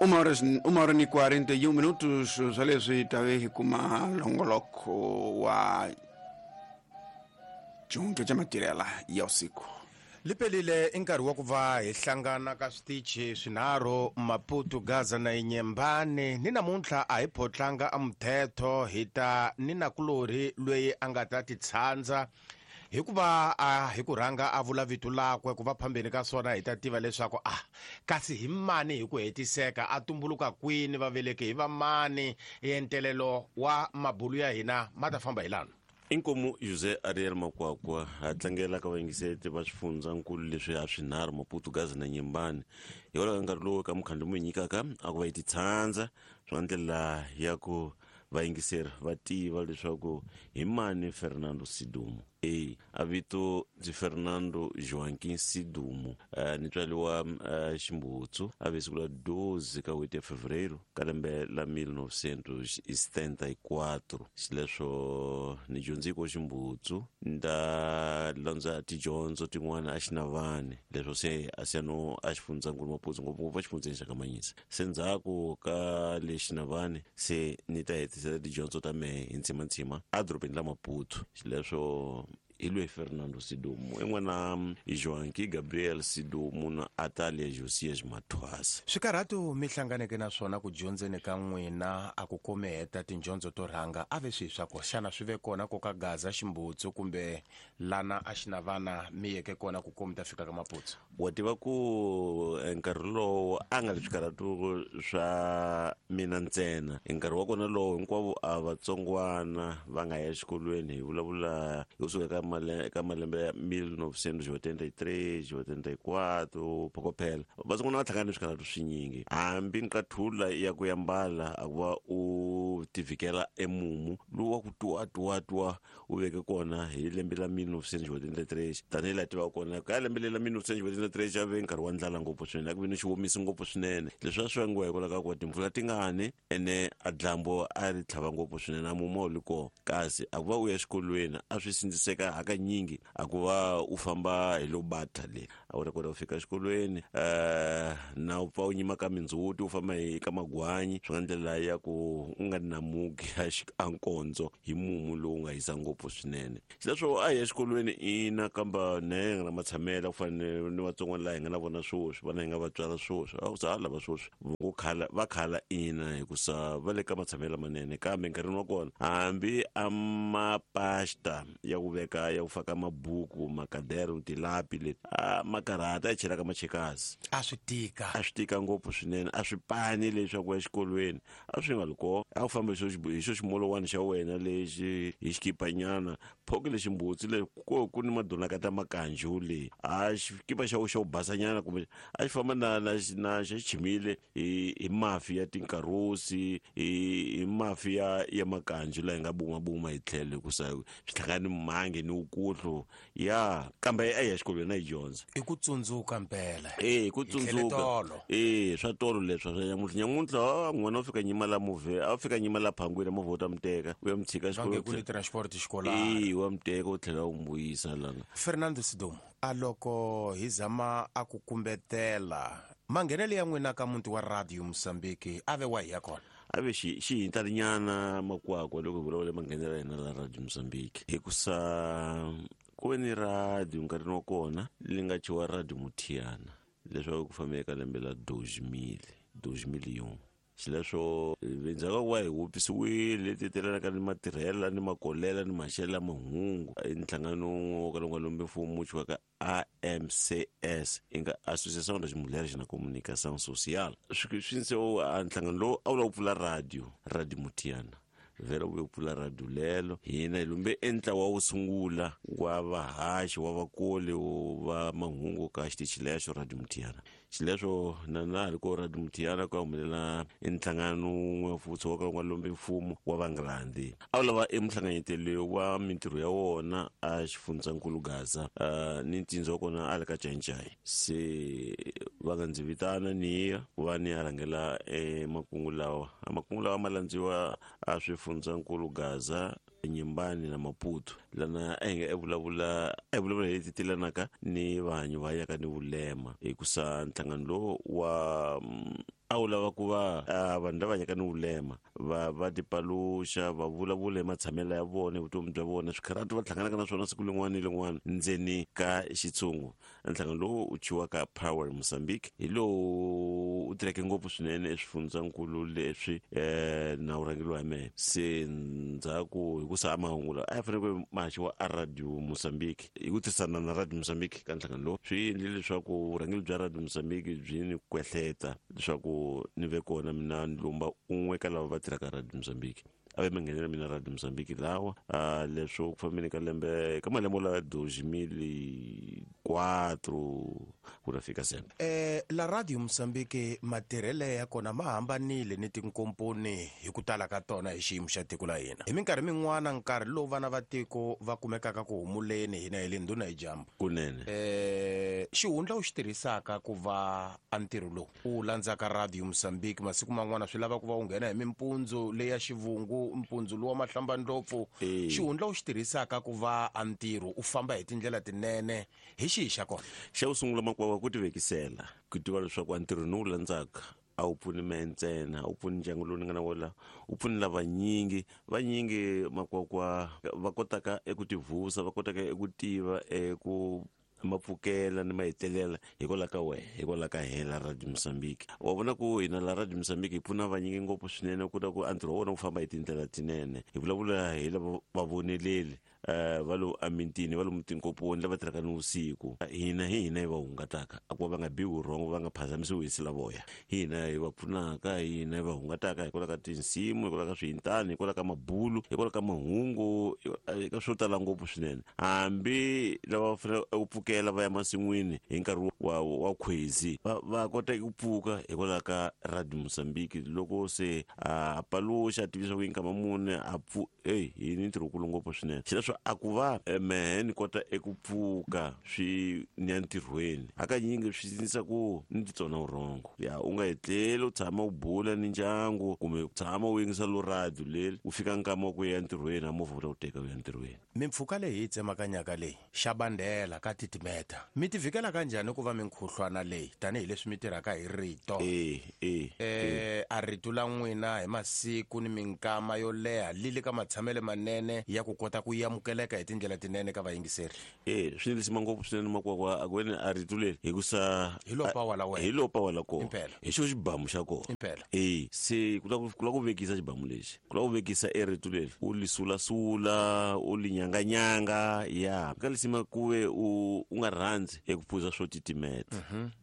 1h41 swa leswi tave hi kuma longoloko wa xihundla xa matirhela ya usiku. Lipelile i nkarhi wa ku va hi hlangana ka switichi swinharhu, Maputo, Gaza na Inyembani. Ni namuntlha a hi photlanga a muthetho, hi ta ni nakulorhi loyi a nga ta titshandza hikuva a hi ku rhanga a vula vito lakwe ku va phambeni ka swona hi ta tiva leswaku a kasi hi mani hi ku hetiseka, a tumbuluka kwini, va veleke hi va mani. Entelelo wa mabulu ya hina ma ta famba hi lana. Inkomu José Ariel Makwakwa ha tlangela ka vayingiseti va swifundzankulu leswi ha swinharhu, Maputo, Gaza na Nyembani, hikwalaho ka nkarhi lowu ka mukhandlu mu nyikaka a ku va yi titshandza swa ndlela ya ku vayingiseri va tiva leswaku hi mani Fernando Sidumo. E a vito ndzi Fernando Joaquim Sidumo, ni tswariwa Ximbutsu, a ve siku la 12 ka n'hweti ya Fevereiro ka lembe la 1974. Xileswo ni dyondze ko Ximbutsu, ni ta landza tidyondzo tin'wana a Xinavani, leswo se a siya no a xifundzankulu Maputo, ngopfungopfu exifundzeni xa ka Manyisa. Se ndzhaku ka le Xinavani se ni ta hetisela tidyondzo ta mehe hi ntshimantsima edorobeni la Maputo. Xileswo hi loyi Fernando Sidumo, i n'wana Joaquim Gabriel Sidumo na Atalia Josias Mathwasa. Swikarhato mi hlanganeke na swona ku dyondzeni ka n'wina a ku komi heta tindyondzo to rhanga a ve swihi swa ko? Xana swi ve kona ko ka Gaza, Ximbutsu kumbe lana a Xinavana mi yeke kona ku komi ta fika ka Maputo? Wa tiva ku nkarhi lowo a nga ri swikarhato swa mina ntsena, nkarhi wa kona lowo hinkwavo a vatsongwana va nga ya exikolweni, hi vulavula hi kusuka ka ka malembe ya 1983, 84, phokophela vatsongwana va hlangana ni swikarhato swinyingi. Hambi nqathula ya ku yambala a ku va u tivhikela emumu lowu wa ku tuwa tuwa tuwa u veke kona hi lembe la 1983, tanihi laha tivaka kona ka lembe leri la 1983 a ve nkarhi wa ndlala ngopfu swinene, a ku ve ni xiwomisi ngopfu swinene. Leswi a swi vangiwa hikwalaho ka ku timpfula ti ngani ene a dlambo a ri tlhava ngopfu swinene, a mumu a wu li kona. Kasi a ku va u ya exikolweni a swi sindziseka hakanyingi a ku va u famba hi lo bata le a wu ta kota ku fika exikolweni, na u pfa u nyima ka mindzhuti u famba hi ka magwanyi, swi nga ndlela ya ku u nga namuki a nkondzo hi mumu lowu nga hisa ngopfu swinene. Xileswo a hi ya exikolweni ina, kamba na hi nga na matshamela ku fana ni vatsongwana laha hi nga na vona sweswi, vana hi nga va tswala sweswi, a ku za lava sweswi vo khala va khala ina, hikusa va le ka matshamelo lamanene. Kambe nkarhini wa kona hambi a mapasta ya ku veka ya ku faka mabuku, makadero, tilapi leti a makarhata ya chelaka machekasi, a swi tika, a swi tika ngopfu swinene. A swi pani leswaku ya xikolweni a swi nga ri kona, a ku famba hi xo ximolowani xa wena lexi hi xikipanyana phoki lexi mbutsi le ko ku ni madonaka ta makanju le a xikipa xa xo basanyana kumbe a xi famba na na na xa chimile hi mafi ya tinkarosi, hi mafi ya makanju laha hi nga bumabuma hi tlhelo, hikusa swi hlangana ni mhangi ni wukuhlu ya kambe a ya xikolweni a yi dyondza. I ku tsundzuka mpela. E ku tsundzuka e swa tolo leswa swa nyamuntlha. Nyamuntlha n'wana u fika nyima la movhe, a fika nyima la phangwini, movha wu ta mi teka u ya mi tshika xikolweni, ku ni transport xikolweni. E wa mi teka u tlhela u mi vuyisa lana. Fernando Sidumo, a loko hi zama a ku kumbetela manghenelo ya n'wina ka muti wa Radio Mozambique a ve wa hi ya kona? A ve xi xihintalinyana Makwakwa loko hi vulavula manghenelo ya hina la Radio Mozambique, hikusa ku ve ni radio nkarhini wa kona li nga thyiwa Radio Muthiana, leswaku ku fambe eka lembe la 2000, 2001. Xileswo endzhaku ka ku va hi wupfisiwile leti telanaka ni matirhela ni makolela ni maxelo ya mahungu, i nhlangano wun'we wo kala wu nga lombi mfumo wu thyiwaka AMCS, yi nga Associação das Mulheres na Comunicação Social. Swi swi a nhlangano lowu a wu lava ku pfula radio, Radio Muthiana vhela wu ve pfula radio lelo. Hina hi lumbe e ntlawa wo sungula wa vahaxi wa vakoli va mahungu ka xitichi lexo Radio Muthiana. Xileswo na na ha ri ko Radio Muthiana ku ya humelela e nhlangano wun'we futhi wo ka wu nga lombi mfumo wa Vangrandi, a wu lava e muhlanganyeteli wa mintirho ya wona a xifundzankulu Gaza, ni ntsindza wa kona a le ka Cancai. Se va nga ndzi vitana ni ya ku va ni ya rhangela e makungu lawa. A makungu lawa ma landziwa a swifundzankulu Gaza, Nyimbani na Maputo, lana a hi nga vulavula a hi vulavula hi leti telanaka ni vanhu va yaka ni vulema, hikusa nhlangano lowu wa A wu lava ku va vanhu lava hanyaka ni vulema va tipaluxa, va vulavula hi matshamelo ya vona, vutomi bya vona, swikharati va hlanganaka na swona siku lin'wana ni lin'wana ndzeni ka xitshungu. Nhlangano lowu u thyiwaka Power Mozambique hi lowu u tirheke ngopfu swinene eswifundzankulu leswi na wu rhangeriwa hi mehe. Se ndzhaku hi ku sa mahungu lawa a ya fanele ku ma haxiwa a Radio Mozambique, hi ku tirhisana na Radio Mozambique ka nhlangano lowu, swi endlile leswaku vurhangeri bya Radio Mozambique byi ni kwehleta leswaku ni ve kona mina ni lumba un'we ka lava va tirhaka Radio Mozambique. A ve manghenelo mina Radio Mozambique lawa leswo ku fambeni ka lembe ka malembe lawa 2004 ku ta fika sembe. La Radio Mozambique matirhele ya kona ma hambanile ni tinkomponi hi ku tala ka tona hi xiyimo xa tiko la hina. Hi minkarhi min'wana nkarhi lowu vana va tiko va kumekaka ku humuleni hina hi le ndhuna hi dyambu. Kunene. Xihundla u xi tirhisaka ku va a ntirho lowu u landzaka Radio Mozambique masiku man'wana swi lava ku va u nghena hi mimpundzu leya xivungu, mpundzu lowa mahlambandlopfu. Xihundla u xi tirhisaka ku va a ntirho u famba hi tindlela tinene hi xihi xa kona? Xa ku sungula makwava ku tivekisela, ku tiva leswaku a ntirho ni wu landzaka a wu pfuni mehe ntsena, a wu pfuni ndyangu lowu ni nga na wona, wu pfuni lavanyingi. Vanyingi makwakwa va kotaka eku tivusa, va kotaka eku tiva eku mapfukela ni mahetelela hikwalaho ka wehe, hikwalaho ka hela Radio Mozambique. Wa vona ku hina la Radio Mozambique hi pfuna vanyingi ngopfu swinene ku ta ku a ntirho wa vona wu famba hi tindlela tinene. Hi vulavula hi lava vavoneleli va lo emitini, va lomu tinkoponi, lava tirhaka ni vusiku. Hina hi hina hi va hungataka, a ku va va nga biwi vurhongo, va nga phazamisiwi hi silavoya. Hi hina hi va pfunaka, hi hina hi va hungataka hikwalaho ka tinsimu, hikwalaho ka swiyintani, hikwalaho ka mabulu, hikwalaho ka mahungu, eka swo tala ngopfu swinene. Hambi lava va fanele ku pfukela va ya masin'wini hi nkarhi wa khwezi, va kota ku pfuka hikwalaho ka Radio Mozambique. Loko se a paluxa a tivisa ku yi nkama mune a pfu, ey, hi ni ntirho wukulu ngopfu swinene. Xileswo a ku va mehe ni kota eku pfuka swi ni ya ntirhweni, hakanyingi swi ndlisa ku ni titsona vurhongo. Ya u nga etleli u tshama u bula ni ndyangu kumbe u tshama u yingisa lo radio leri, u fika nkama wa ku ya ntirhweni, a movha wu ta ku teka u ya ntirhweni. Mimpfhuka leyi hi tsemakanyaka leyi xa bandela ka titimeta, mi ti vhikela kanjhani ku va minkhuhlwana leyi tanihileswi mi tirhaka hi rito? A rito la n'wina hi masiku ni minkama yo leha li le ka matshamelo manene ya ku kota ku amukeleka hi tindlela tinene ka vayingiseri. Swi ni lisima ngopfu swinene makwakwa a ku veni a rito leri hikusa Hi lo pawa la wena. Hi lo pawa la kona. Impela. Hi xo xibamu xa kona. Impela. Se ku la ku vekisa xibamu lexi, ku la ku vekisa e rito leri, u li sulasula, u li nyanganyanga. Ya ka lisima ku ve u nga rhandzi eku phuza swo titimeta.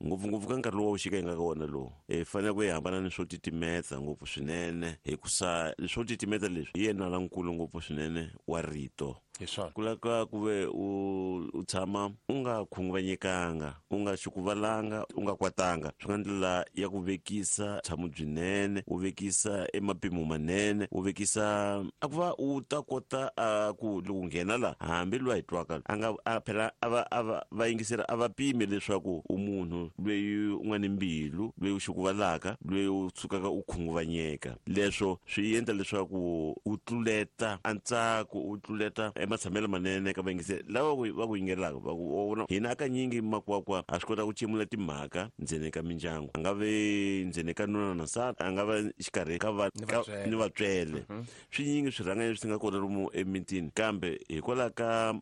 Ngopfungopfu ka nkarhi lowu wa vuxika hi nga ka wona lowu, hi fanele ku hi hambana ni swo titimeta ngopfu swinene, hikusa swo titimeta leswi hi yena lankulu ngopfu swinene wa rito. Hi swona. Ku lava ku ve u tshama u nga khunguvanyekanga, u nga xukuvalanga, u nga kwatanga, swi nga ndlela ya ku vekisa tshamo byinene, u vekisa emapimo manene, u vekisa a ku va u ta kota a ku loko nghena la hambi loyi a hi twaka a nga a phela a va a va va yingisela a va pimi leswaku u munhu loyi u nga ni mbilu, loyi u xukuvalaka, loyi u tsukaka u khunguvanyeka. Leswo swi endla leswaku u tluleta a ntsako, u tluleta ematshamelo manene ka vayingiseri lava va ku yingelaka. Va ku vona hina hakanyingi makwakwa a swi kota ku cemula timhaka ndzeni ka mindyangu, a nga ve ndzeni ka nuna na nsati, a nga va xikarhi ka va Ni ka vatswele. ni vatswele. Swinyingi swirhangani leswi nga kona lomu emitini, kambe hikwalaho ka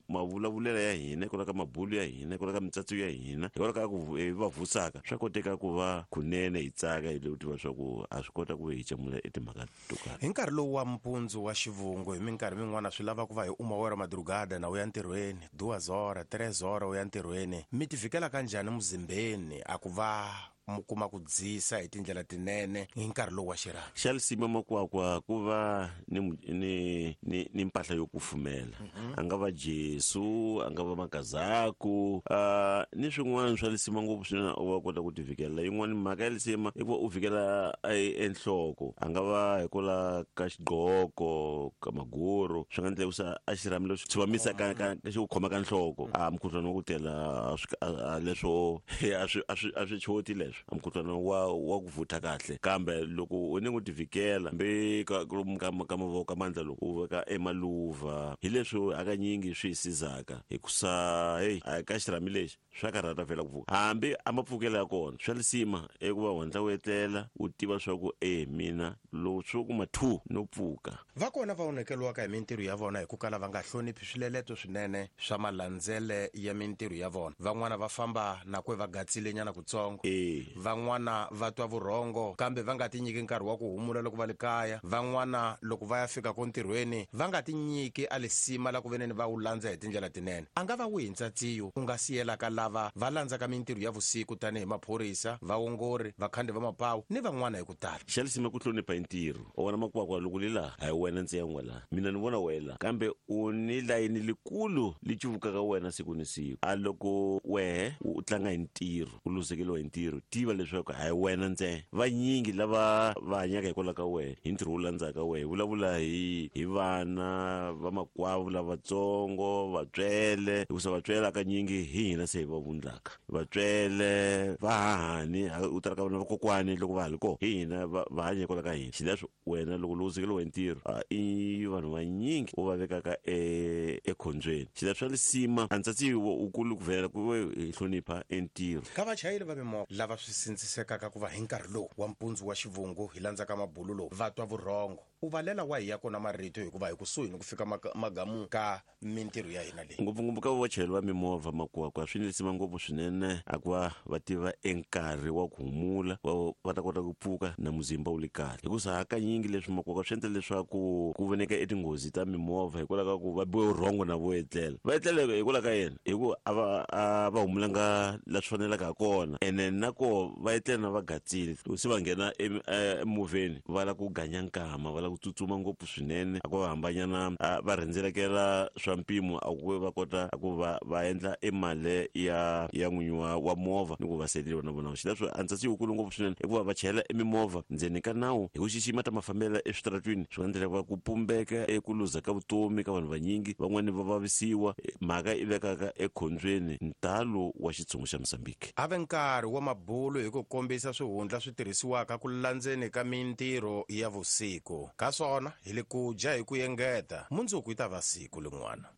mavulavulelo ya hina, hikwalaho ka mabulu ya hina, hikwalaho ka mitsatso ya hina, hikwalaho ka ku hi va vusaka, swa koteka ku va kunene hi tsaka hi le ku tiva swa ku a swi kota ku hi cemula etimhaka to karhi. Hi nkarhi lowu wa mpundzu wa xivungu, hi minkarhi min'wana swi lava ku va hi uma wera madrugada na u ya ntirhweni, duas hora, tres hora u ya ntirhweni. Mi ti vhikela kanjhani muzimbeni a ku va mu kuma ku dzisa hi tindlela tinene hi nkarhi lowu wa xirhami? Xa lisima makwakwa ku va ni mpahla yo kufumela. A nga va Jesu, a nga va makazaku, ni swin'wana swa lisima ngopfu swinene u va kota ku ti vhikela. Yin'wana mhaka ya lisima i ku va u vhikela enhloko, a nga va hikwalaho ka xigqoko, ka maguru, swi nga endleka ku sa a xirhami lexi tshuvamisa ka, ka, ka xi ku khoma ka nhloko. A mukhuhlwani wa ku tela, a swi, a, a leswo, a swi, a swi, a swi choti leswo. leswi a mukhuhlwana wa ku vutha kahle. Kambe loko u ni ku tivhikela hambi ka ka mavoko ka mandla, loko u veka emaluva, hi leswi hakanyingi swi hi sizaka, hikusa heyi, a ka xirhami lexi swa karhata vhela ku pfuka, hambi a mapfukelo ya kona. Swa lisima i ku va u hatla u etlela, u tiva swa ku e mina loko swo kuma 2 no pfuka. Va kona va onhekeliwaka hi mintirho ya vona hi ku kala va nga hloniphi swileleto swinene swa malandzele ya mintirho ya vona. Van'wana va famba na kwe va gatsilenyana kutsongo. Van'wana va twa vurhongo kambe va nga tinyiki nkarhi wa ku humula loko va le kaya. Van'wana loko va ya fika ko ntirhweni va nga tinyiki a lisima la ku veneni va wu landza hi tindlela tinene. A nga va wihi ntsatsiyo u nga siyelaka lava va landzaka mintirho ya vusiku tanihi maphorisa, vaongori, vakhandi va mapawu ni van'wana hi ku tala? Xa lisima ku hlonipha hi ntirho. U vona makwakwa loko li laha, a hi wena ntsena u nga laha, mina ni vona wehe laha, kambe u ni layini likulu li cuvukaka wena siku ni siku. A loko wehe u tlanga hi ntirho, u luzekeliwa hi ntirho, tiva leswaku a hi wena ntsena, vanyingi lava va hanyaka hikwalaho ka wehe, hi ntirho wu landzaka wehe. Vulavula hi vana vamakwavo lavatsongo, vatswele, hikusa vatswele hakanyingi hi hina se hi va vundlaka. Vatswele vahahani u tala ka vana vakokwani loko va ha li kona, hi hina va hanya hikwalaho ka hina. Xileswo wena loko luzekeliwa hi ntirho, i vanhu vanyingi u va vekaka ekhombyeni. Xileswo swa lisima a ntsatsi wukulu ku vhela ku ve hi hlonipha entirho. Ka vachayeri va mimovha lava swi sindzisekaka ku va hi nkarhi lowu wa mpundzu wa xivungu hi landzaka mabulu lowu va twa vurhongo, u valela wa hi ya kona marito, hikuva hi kusuhi ni ku fika magamu ka mintirho ya hina leyi. Ngopfungopfu ka vachayeri va mimovha, makwakwa, swi ni lisima ngopfu swinene a ku va va tiva enkarhi wa ku humula, va ta kota ku pfuka na muzimba wu li kahle, hikusa hakanyingi leswi makwakwa swi endla leswaku ku voneka etinghozi ta mimovha hikwalaho ka ku va biwe vurhongo na vo etlela, va etlela hikwalaho ka yena, hi ku a va humulanga la swi fanelaka ha kona. Ene na koho va etlela na va gatsile, loko se va nghena emovheni va lava ku ganya nkama, va lava ku tsutsuma ngopfu swinene, a ku va hambanyana va rhendzelekela swa mpimo, a ku va kota a ku va endla emali ya n'winyi wa movha ni ku va seleriwa na vona. Xileswo a ntsatsi wukulu ngopfu swinene i ku va va chayela emimovha ndzeni ka nawu hi ku xixima ta mafambelo eswitaratwini. Swi nga endlela va ku pumbeka eku luza ka vutomi ka vanhu vanyingi, van'wani va vavisiwa, mhaka i vekaka ekhombyeni ntalo wa xitshungu xa Mozambique. A ve nkarhi wa mabulu hi ku kombisa swihundla swi tirhisiwaka ku landzeni ka mintirho ya vusiku. Ka swona hi le ku dya hi ku engeta, mundzuku yi ta va siku lin'wana.